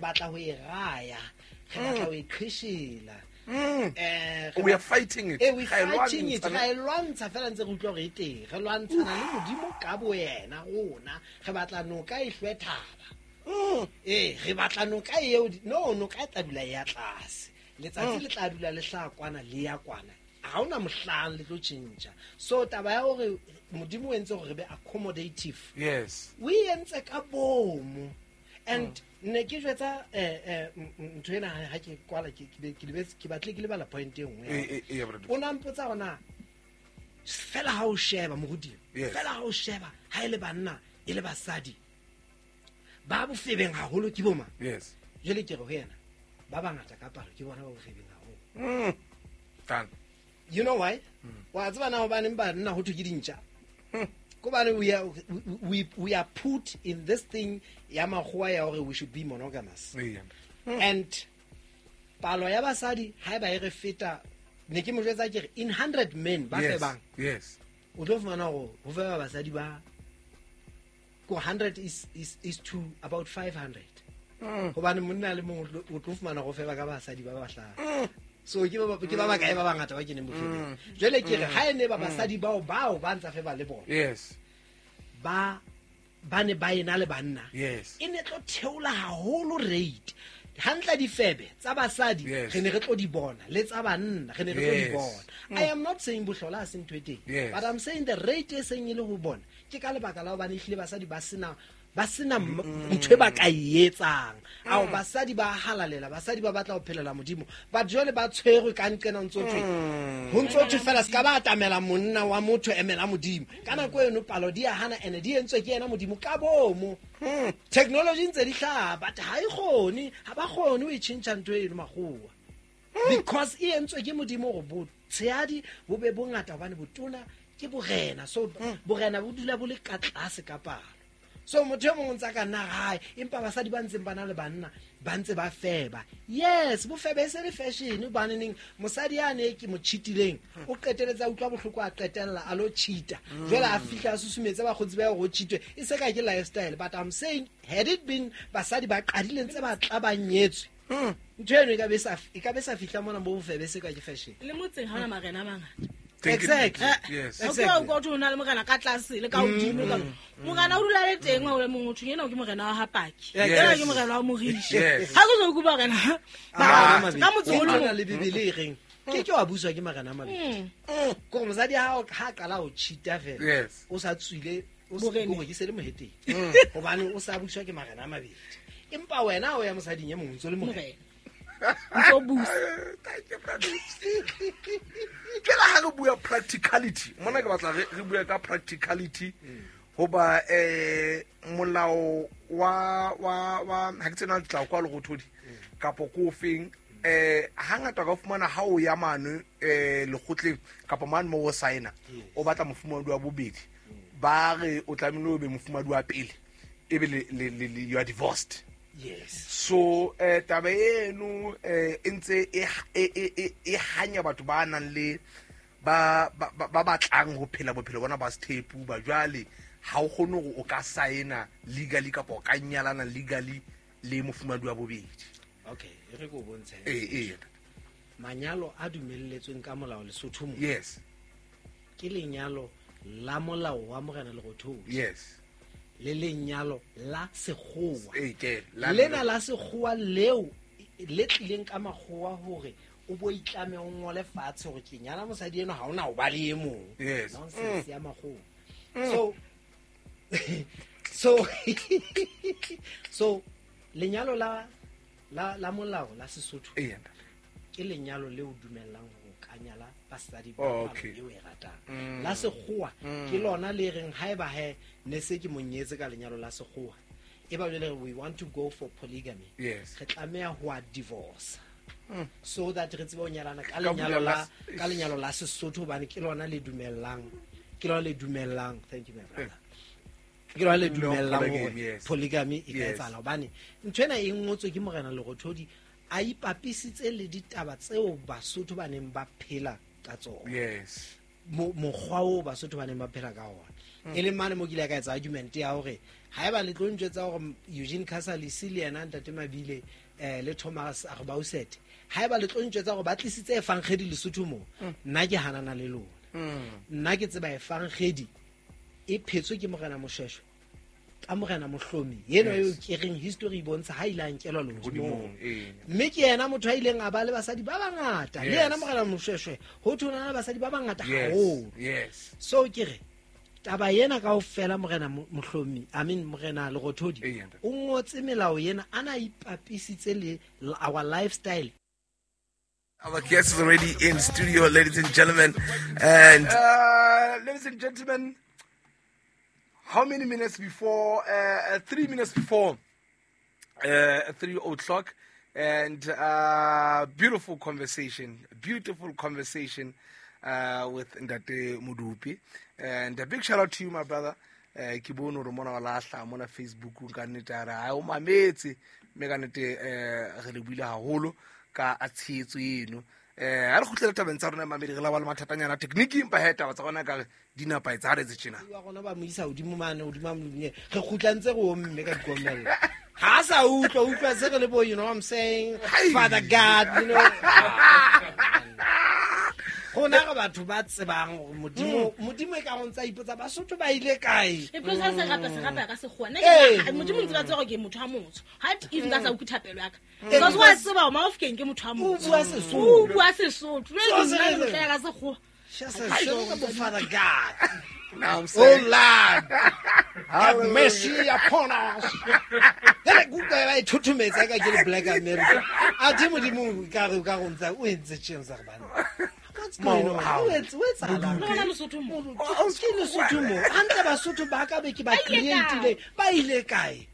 batla ho e raya, re batla ho e qhishela. We are fighting it. We fighting it. Re lwantsha fela ntse re utlwa hore e teng. Re lwantshana le Modimo ka boyena rona. Re batla noka e hlwe thaba. Re batla noka eo no noka e tla dula ya tlase. Letsatsi le tla dula le hlaha kwana le ya kwana. Ha hona mohlang le tlo tjhentjha. So taba ya hore Modimo o entse hore re be accommodative. Yes. We entse ka bomo. And ne ke jwetsa ntho ena ha ke kwala ke batle ke lebala point e nngwe. O na mpotsa hona fela ha o sheba moruti. Fela ha o sheba ha ile banna e le basadi. Ba bofebeng haholo ke boma. Yes. Jwale ke re ho yena ba bangata ka palo ke bona ba bofebeng haholo. Done. You know why? Wa tseba na hobaneng banna ho thwe ke dintja. Kobane we are put in this thing ya makgowa ya hore we should be monogamous. Yeah. And palo ya basadi ha ba e re feta ne ke mo jwetsa ke re in 100 men ba febang. Yes. O tlo fumana hore ho feba basadi ba ko 100 is to about 500. Hobane monna le mong o tlo fumana go feba ka basadi ba bahlano. So ke ba bakae ba bangata ba keneng bofebeng. Jwale ke re ha ene ba basadi bao ba ntsa feba le bona. Yes. Ba ba ne ba ena le banna, Yes. e ne tlo theola haholo rate. Hantle difebe tsa basadi Yes. re ne re tlo di bona, le tsa banna re ne re tlo di Yes. bona. I am not saying bohlola ha se ntho e teng, Yes. but I'm saying the rate e seng e le ho bona ke ka lebaka la hobane ehlile basadi ba sena ntho e ba ka e etsang. Ao basadi ba halalela, basadi ba batla ho phelela Modimo, but jwale ba tshwerwe ka nqena ho ntso thwe, ho ntso thwe fela se ka ba atamela monna wa motho emela Modimo. Ka nako eno palo di a hana, ene di entswe ke yena Modimo ka bomo. Technology ntse di hlaha, but ha e kgone, ha ba kgone ho e tjhentjha ntho eno makgowa. Because e entswe ke Modimo hore botshehadi bo be bongata, hobane botona ke borena. So borena bo dula bo le ka tlase ka palo. So motho e mong o ntse a ka nna hae, empa basadi ba ntseng ba na le banna ba ntse ba feba. Yes, bofebe e se le fashion, hobane neng mosadi yane ke mo cheatileng, o qeteletse a utlwa bohloko, a qetella a lo cheata. Jwale a fihla a susumetse bakgotsi ba ya hore o cheatwe, e se ka ke lifestyle. But I'm saying, had it been basadi ba qadile ntse ba tla ba nyetswe, ntho eno e ka be sa fihla mona mo bofebe se ka ke fashion. Le motseng ha hona marena a mangata. Thank you. Exactly. Yes. Exactly. O kwa o na le morena ka tlase le ka hodimo ka morena o dula le teng wa o le mong o thong ena ke morena wa ha Paki. Yes. Ena ke morena wa Morishi. Yes. Ha ke so go morena. Ah, Ka motse o le na mong. le Bibele e reng ke ke wa buswa ke marena a mabedi. Ke gore mosadi ha ha qala ho cheata fela, Yes. o sa tswile, o se Boreneng. gore ke se le moheteng. Hobane o sa buswa ke marena a mabedi. Empa wena o ya mosading e mong o ntso le morena. Morena. Ntso busa. Thank you, brother. Jwale ha re bua practicality, mona ke batla re bue ka practicality hoba molao wa wa wa ha ke tsena tla kwa Lerothodi kapo ko ofeng, hangata ka fumana ha o ya mane lekgotleng kapa mane mo o signa, o batla mofumahadi wa bobedi, ba re o tlamehile o be mofumahadi wa pele, ebe le you are divorced. Yes. So taba eno e ntse e hanya batho ba nang le ba ba batlang ho phela bophelo bona ba sethepu, ba jwale ha o kgone hore o ka signa legally kapa o ka nyalana legally le mofumahadi wa bobedi. Okay, e re ke o bontshe. Eh. Manyalo a dumelletsweng ka molao Lesotho mo. Yes. Ke lenyalo la molao wa morena Lerothodi. Yes. Le lenyalo la sekgowa. Ke la Lena la sekgowa leo le tlileng ka makgowa hore o bo itlame o ngole fatshe hore ke nyala mosadi eno, ha ona ho ba le e mong. Yes. Nonsense ya makgowa. So so so lenyalo la la la molao la Sesotho ke lenyalo leo dumellang hore o ka nyala basadi ba Oh, palo okay. eo e ratang. La sekgowa ke lona le reng haeba he ne se ke monyetse ka lenyalo la sekgowa, e ba jwale we want to go for polygamy. Yes. Re tlameha ho a divorce. So that re tsebe ho nyalana ka Ka lenyalo bulela la ka lenyalo la Sesotho, hobane ke lona le dumellang, ke lona le dumellang. Thank you my brother. Ke lona le No, dumellang polygamy, hore yes. polygamy e ka Yes. etsahala, hobane ntho ena e ngotswe ke morena Lerothodi a ipapisitse le ditaba tseo Basotho ba neng ba phela ka tsona. Yes. Mokgwa oo Basotho ba neng ba phela ka ona. E leng mane mo ke ile ka etsa argument ya hore haeba le tlo ntjwetsa hore Eugene Casalis le yena Ntate Mabile le Thomas Arbausete, haeba le tlo ntjwetsa hore ba tlisitse efankgedi Lesotho mo, nna ke hanana le lona. Nna ke tseba efankgedi e phetswe ke morena Moshweshwe ka morena Mohlomi eno eo ke reng history e bontsha ha ile a nkelwa lehodimong. Mme ke yena motho a ileng a ba le basadi ba bangata, le yena morena Moshweshwe ho thwe o na le basadi ba bangata haholo. Yes. So ke re taba ena kaofela morena Mohlomi, I mean morena Lerothodi, o ngotse melao ena a na ipapisitse le our lifestyle. Our guest is already in studio, ladies and gentlemen. And ladies and gentlemen, how many minutes before? 3 minutes before 3 o'clock. And beautiful conversation, with Ntate Modupi. And a big shout out to you, my brother. Ke bone hore mona wa lahla mona Facebook ka nnete a re ha o mametse, mme ka nnete re le buile haholo ka a tshehetso eno. Ha re kgutlele tabeng tsa rona mamedi, re la ba le mathatanyana technique, empa he taba tsa rona ka re di nepahetse ha re etse tjena. Wa rona ba mo isa hodimo mane, hodimo mane, re kgutla ntse re omme ka dikomello. Ha sa utlwa se re le bo, you know what I'm saying? Father God, you know. Rona re batho ba tsebang hore Modimo Modimo e ka go ntsa ipotsa Basotho ba ile kae. E plus ha se rapa se rapa ka sekgowa. Nna ke Modimo ntse ba tseba hore ke motho a motsho. Ha if nka sa utlwe thapelo ya ka. Because wa tseba hore Mafokeng ke motho a motsho. O bua Sesotho. O bua Sesotho. Jwale nna ke motho ya ka sekgowa. Just Father God. Now I'm Oh saying. Lord, have mercy upon us. Jale ke utlwa ba e thothometsa ka ke le Black America. Athe Modimo ka re ka go ntsa o entse tjeng sa re bana. What's going on? O etsahalang? Nna bona Mosotho mo. Ke Lesotho mo. Hantle Basotho ba ka be ke ba Ba ile kae? create-ile. Ba ile kae?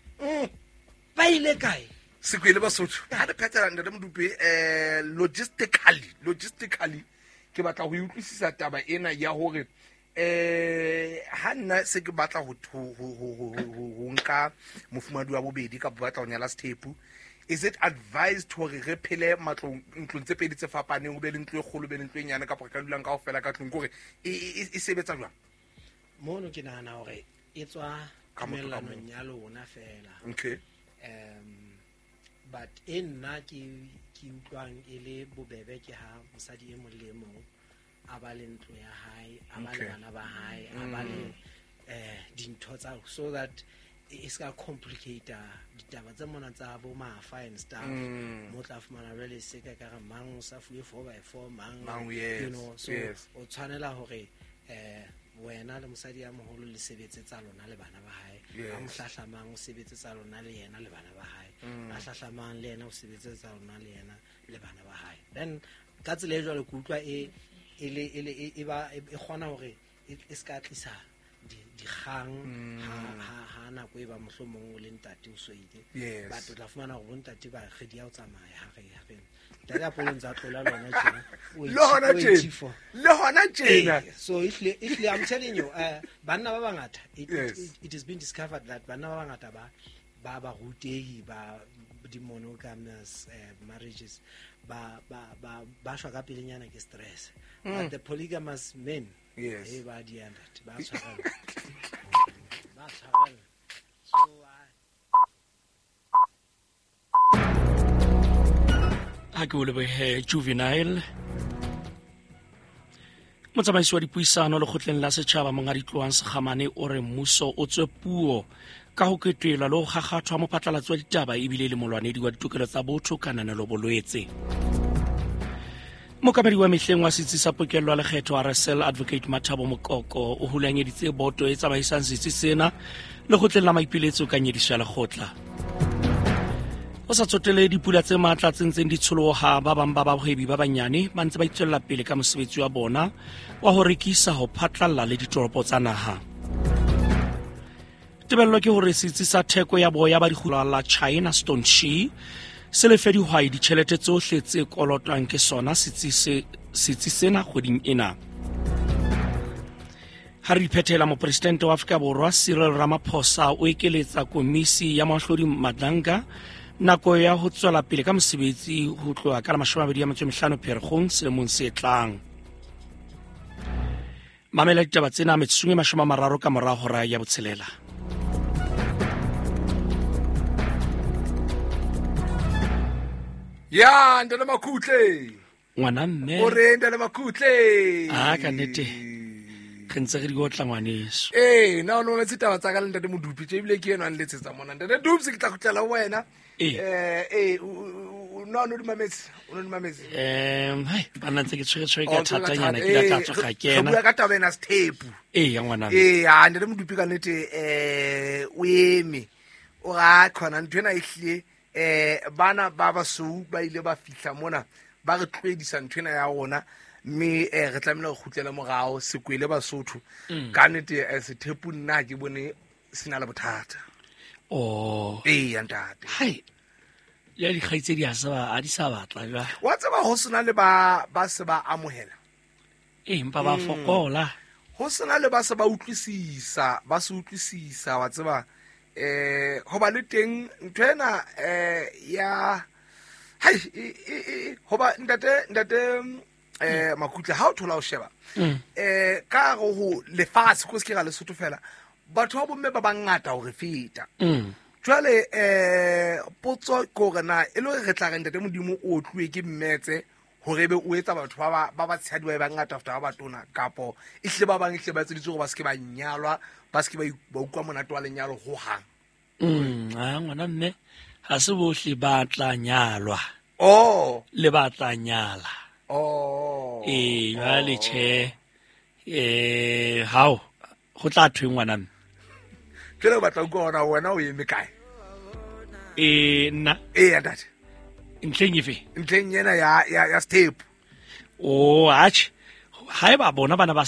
Ba ile kae? Sekwele Basotho. Ha re phethela Ntate Modupe, logistically ke batla ho utlwisisa taba ena ya hore ha nna se ke batla ho nka mofumahadi wa bobedi kapa batla ho nyala sethepu, is it advised hore re phele matlong ntlong tse pedi tse fapaneng, ho be le ntlo e kgolo, be le ntlo e nyane, kapa re ka dulang kaofela ka tlung? Kore e sebetsa jwang? Mono ke nahana hore e tswa Ka motho ka tumellanong mong. ya lona fela. Okay. But e nna ke utlwang e le bobebe ke ha mosadi e mong le e mong a ba le ntlo ya hae, a ba le Okay. bana ba hae, a ba le dintho tsa, so that e ska complicate ditaba tse mona tsa bo mafa and stuff. Mo tla fumana jwale se ka ka re mang o sa fuwe four by four, mang, Mang, yes, you know, so yes. o tshwanela hore wena le mosadi ya moholo le sebetse tsa lona le bana ba hae. Yes. Ha mohlahlamang o sebetse tsa lona le yena le bana ba hae. Ha hlahlamang le yena o sebetse tsa lona le yena le bana ba hae. Then ka tsela e jwalo ke utlwa e e le e le e ba e kgona hore e ska tlisa dikgang ha nako e ba mohlomong o le ntate o soile. Yes. But o tla fumana hore bontate ba re di a o tsamaya ha re ntate a polong tsa tlola lona tjena. O Le hona o tjena. eighty-four. Le hona tjena. So ehlile, I'm telling you, banna ba bangata, Yes. it has been discovered that banna ba bangata ba barutehi ba di monogamous marriages ba shwa ka pelenyana ke stress. But the polygamous men, Yes. ba di ntate, ba tshwarella. Ba tshwarella. So Ha ke o lebohe Juvenile. Motsamaisi wa dipuisano lekgotleng la setjhaba Monghadi Tlohang Sekgamane o re mmuso o tswe puo ka ho ketwelwa le ho kgakgathwa mophatlalatsi wa ditaba ebile le molwanedi wa ditokelo tsa botho Kananelo Bolwetse. Mookamedi wa mehleng wa setsi sa pokello ya lekgetho RSL Advocate Mathabo Mokoko o hulanyeditse boto e tsamaisang setsi sena lekgotleng la maipiletso ka nyediso ya lekgotla. Ho sa tsotele dipula tse matla tse ntseng di tsholoha, ba bang ba bahwebi ba banyane ba ntse ba itswella pele ka mosebetsi wa bona wa ho rekisa ho phatlalla le ditoropo tsa naha. Tebello ke hore setsi sa theko ya boya ba dikgula la China Stone Shi se lefe dihwai ditjhelete tsohle tse kolotwang ke sona setsi sena kgweding ena. Ha re diphethela, mopresidente wa Afrika Borwa Cyril Ramaphosa o ekeletsa komisi ya moahlodi Madlanga nako ya ho tswela pele ka mosebetsi ho tloha ka la 25 Pherekgong selemong se tlang. Mamela ditaba tsena metsotsong e 30 ka mora hora ya botshelela. Ya, Ntate Makutle. Ngwana mme. O re Ntate Makutle. Ah, ka nnete. Re ntse re di otla ngwaneso. Na o no mametse taba tsa ka le Ntate Modupi, tje ebile ke enwa a nletsetsa mona. Ntate Dupsi, ke tla kgutlela ho wena. No, no di mametse, o no di mametse. Hai, banna ntse ke tshwere ka Oh, tshwere ka thatanyana, thata. ke la tla tswa ka Re kena. bua ka taba ena sethepu. Ya ngwana mme. Ha, Ntate Modupi ka nnete, o eme. O ra khona ntho ena e hlile, bana ba basweu ba ile ba fihla mona, ba re tlohedisa ntho ena ya rona, mme re tlamehile re kgutlele morao, sekwele Basotho. Ka nnete, sethepu nna ha ke bone se na le bothata. Oh. Ya ntate. Hai. Ya dikgaitsedi ha se ba, ha di sa batla jwale. Wa tseba ho sena le ba se ba amohela. Empa ba fokola. Ho sena le ba se ba utlwisisa, ba se utlwisisa, wa tseba, ho ba le teng ntho ena, ya hai, hoba ntate, Makutle, ha o thola ho sheba, ka hare ho lefatshe, ko se ke ra Lesotho fela, batho ba bomme ba bangata ho re feta. Jwale, potso ke hore na e le hore re tla re Ntate Modimo o otluwe ke mmetse Hore ebe o etsa batho ba ba tshehadi ba e bangata feta ba batona, kapo ehlile ba bang ehlile ba etseditswe hore ba se ke ba nyalwa, ba se ke ba utlwa monate wa lenyalo hohang. A ngwana mme, ha se bohle ba tla nyalwa. Oh. Le ba tla nyala. Oh. Ee, jwale tjhe, hao go tla thweng ngwana mme? Jwale o batla utlwa hore wena o eme kae? Nna? Ee, ntate. Ntlheng efe? Ntlheng ena ya step. O atjhe, haeba bona bana ba